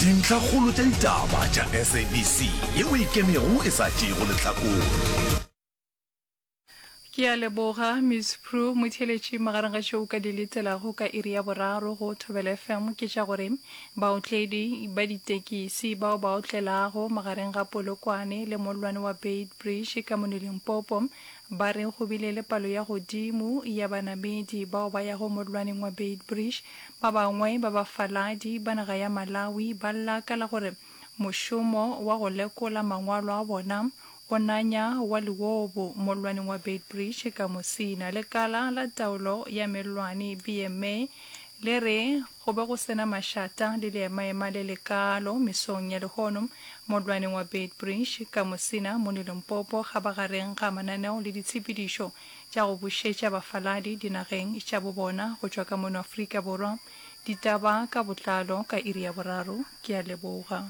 Dintlhakgolo tša ditaba tša SABC yeo e ikemego e sa tšeego lehlakore. Ke a leboga, Miss Prue. Motheeletši, magareng ga tšeo o ka di letelago ka iri ya boraro go Thobela FM ke tša gore baotledi ba ditekisi bao ba otlelago magareng ga Polokwane le mollwane wa Beitbridge ka mono Limpopo ba re go bile le palo ya godimo ya banamedi bao ba yago mollwaneng wa Beitbridge. Ba bangwe ba bafaladi ba naga ya Malawi ba lla ka la gore Mošomo wa go lekola mangwalo a bona o nanya wa leobo mollwaneng wa Beitbridge ka Musina. Lekala la Taolo ya Mellwane, BMA, le re go be go se na mašata le leemaema le lekaalo mesong ya lehono mollwaneng wa Beitbridge ka Musina mono Limpopo kgabagareng ga mananeo le ditshepedišo tša go bušetša bafaladi dinageng tša bobona go tšwa ka mono Afrika Borwa. Ditaba ka botlalo ka iri ya boraro. Ke a leboga.